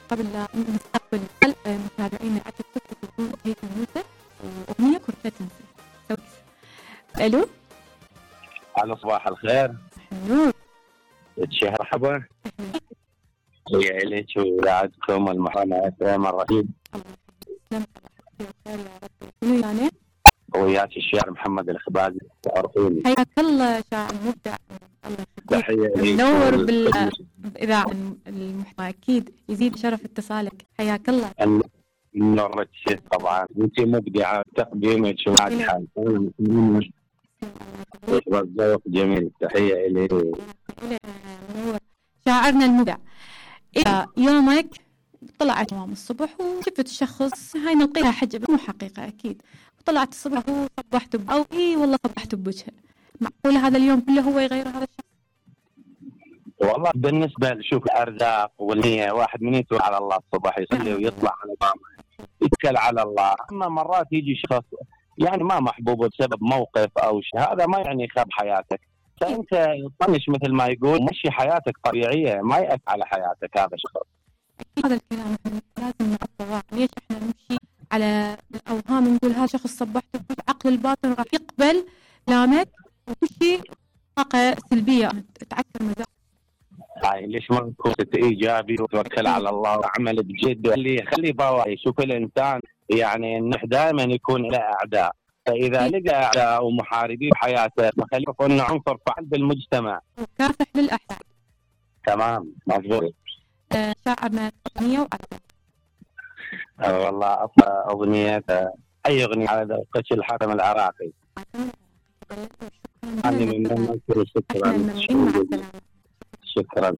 قبل لا نستقبل متابعينا على تيك توك يكتبون هيثم يوسف وأغنية كرة تنسى. ألو. على صباح الخير. نور. مرحبا. يا إليك ويعدكم المحاماة الرشيد. الله يسلمك يا رب. يعني وياك الشاعر محمد الخبازي تعرفوني. حياك الله شاعر مبدع. الله يخليك. منور بالإذاعة المحتوى أكيد يزيد شرف اتصالك. حياك الله. نورك طبعا أنت مبدعة تقديمك وناجحة. ذوق جميل. تحية إلي. شاعرنا المبدع. إذا يومك طلعت يوم الصبح وشفت شخص هاي نلقيها حجب مو حقيقة أكيد وطلعت الصبح وصبحت أو والله صبحت بوجهه معقول هذا اليوم كله هو يغير هذا الشخص؟ والله بالنسبة لشوف الأرزاق والنية واحد من يتوكل على الله الصبح يصلي ويطلع على طعمه يتكل على الله. أما مرات يجي شخص يعني ما محبوب بسبب موقف أو شيء هذا ما يعني يخرب حياتك. فأنت طنش مثل ما يقول مشي حياتك طبيعية ما يأثر على حياتك هذا الشخص. هذا الكلام لازم نعطيه. ليش احنا نمشي على الأوهام نقول هذا شخص صبحته عقل الباطن راح يقبل كلامك وكل شيء طاقة سلبية تعكر مزاج. هاي ليش ما تكون إيجابي وتوكل على الله وعمل بجد خلي باوعي. شوف الإنسان يعني دائما يكون له أعداء فإذا لقى أعداء ومحاربين بحياته فخليه يكون عنصر فعال بالمجتمع وكافح للأحسن. تمام مضبوط. شاعرنا أغنية وأكثر. والله أغنية أي أغنية على ذوقك الحاتم العراقي. شكرا. شكرا.